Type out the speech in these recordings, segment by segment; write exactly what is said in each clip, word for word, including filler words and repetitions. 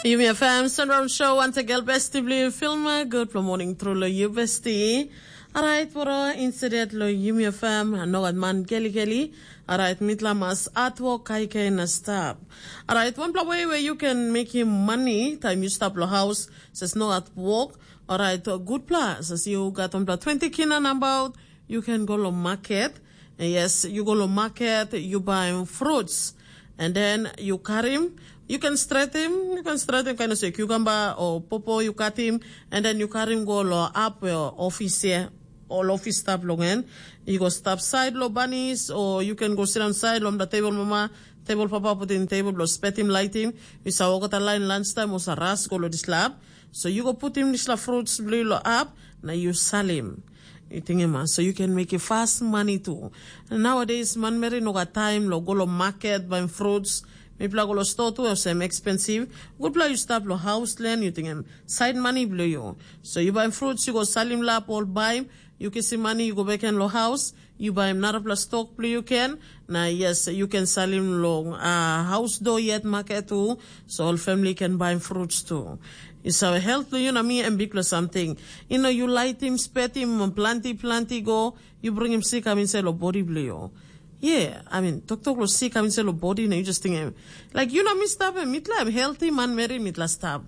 Yumi F M Sunround Show, wantegel besti bli filma, good for morning tru lo yu besti. Alright, woro insidet lo Yumi F M, nogat man geli geli. Alright, mitla mas atwok kaikai na stap. Alright, wanpela way where you can make him money, time you stap lo house, says no at work. Alright, gutpela, says you got wanpela twenty kina nambaut, you can go lo market. Yes, you go lo market, you buy fruits. And then you karim, you can stratim, you can stratim kind of say cucumber or popo you cut him, and then you karim go lo up your office here, all office stap long en. You go stap side lo banis, or you can go sit on side lo the table mama, table papa put in table lo spetim lightim. You sa walk out line lunchtime or sa ras go lo this lab. So you go put him this la fruits blue lo up, na you sell him. You think him, so you can make a fast money too. Nowadays, manmeri no got time lo go lo market buying fruits. Mipela go lo store tu olsem expensive. Gutpela you stap lo house land, you think him side money blue you. So you buy fruits, you go salim lap all buy. You kisim money, you go back and lo house. You buy him narapela stock blue you can. Na yes, you can salim lo uh, house door yet market too. So all family can buy him fruits too. It's our health blue you na me and big lo something. You know, you light him, spet him, planty, planty go. You bring him sick, I mean, say lo body blue you. Yeah, I mean, tok tok lo sick, I mean, say lo body, na you just think, em, like, you know, me stop him, mitla, I'm healthy, man, married, mitla, stop.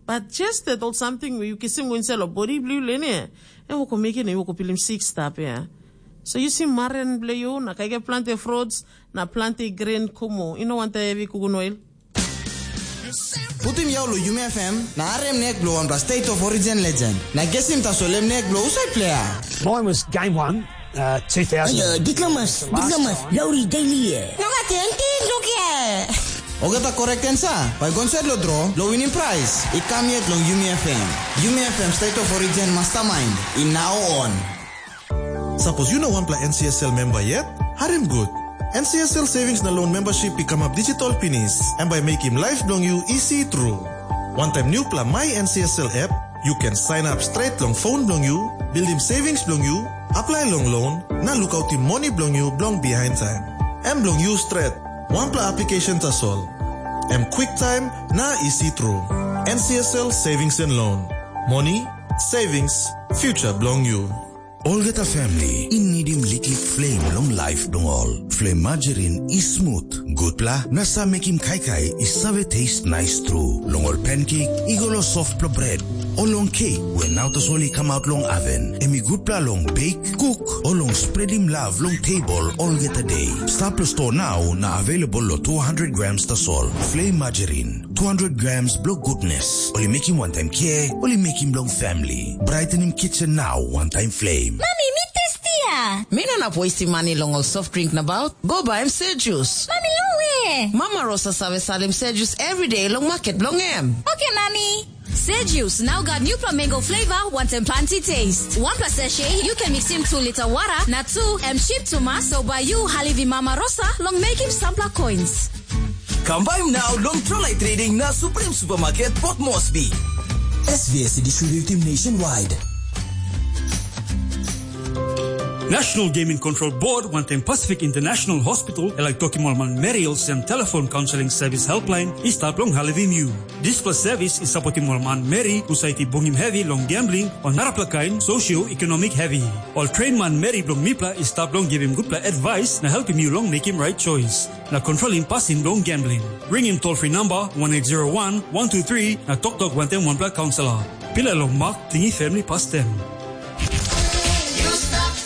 But just that old something where you kisim go inside lo body blue lene, and woko make it, and woko pilim sick stop, yeah. So you see, maren blue you, na kaige plant the fruits, na plant the green kumu. You know, want the heavy kugun oil. Putim yau lo Yumi F M, na harem nek bilong wanpela State of Origin legend. Na gesim tasol em nek bilong husat player? Mine was game one, uh, two thousand. Ayo, diplomas, diplomas, lauri daily ye. No gat enti, lukia. Ogata korek tensa, bai gonsait lo dro, lo winim prais. I kam yet long Yumi F M. Yumi F M State of Origin Mastermind, i now on. Sapos yu no wanpela N C S L memba yet, harim gut. N C S L Savings na Loan membership i kamap digital pinis, em bai mekim laip bilong yu isi tru. Wantaim nupela My N C S L app, yu ken sign up straight long phone bilong yu, buildim savings bilong yu, apply long loan, na lukautim moni bilong yu bilong behind time. Em bilong yu stret, wanpela application tasol. Em quick time na isi tru. N C S L Savings and Loan. Moni, savings, future bilong yu. Olgeta family i nidim liklik flame long life bilong ol. Flame margarine i smooth, gutpela na sa mekim kaikai i save taste nice tru. Long ol pancake i go long softpela bread, o long cake we nau tasol i come out long oven. Em i gutpela long bake, cook, o long spreadim love long table olgeta day. Stap long store now na available lo two hundred grams tasol. Flame margarine, two hundred grams bilong goodness. Ol i mekim wantaim care, ol i mekim bilong family. Brightening kitchen now, one time flame. Mami, mi testia. Mi no inap wastim mani long ol soft drink nabaut. Go baim se jus. Mami, long we? Mama Rosa save salim se jus everyday long market bilong em. Okay, Mami. Se jus now got new mango flavor, wantaim planty taste. One plus sachet, you can mix in two liter water, na two, em cheap too much, so by you, halivi Mama Rosa, long making sampler coins. Kam baim nau long Trolai Trading na Supreme Supermarket Port Moresby. S V S i distributim nationwide. National Gaming Control Board wantaim Pacific International Hospital e laik tokim ol manmeri olsem telefon kaunseling sevis helpline i stap long helpim yu. Dispela sevis i sapotim ol manmeri husat i bungim hevi long gambling o narapela kain sosioekonomik hevi. Ol tren manmeri bilong mipela i stap long givim gutpela advice na helpim yu long mekim right choice na kontrolim pasin bilong gambling. Ringim toll free number one eight zero one, one two three na toktok wantaim wanpela kaunselor. Pilai long mak, tingim family pastem.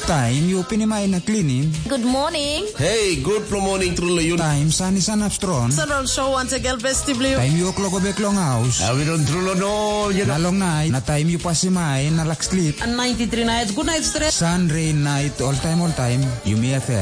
Taim yu pinim ai na klinim. Good morning. Hey, good for morning, truly you. Taim san i sanap strong. Sunround Show once again, besti blue. Taim yu klok bek long haus. Awi don trulo no, you Na know. Long nait, na taim yu pasim ai na lak slip. And ninety-three nights, good night stress. Sun, rain, night, all time, all time. Yumi F M.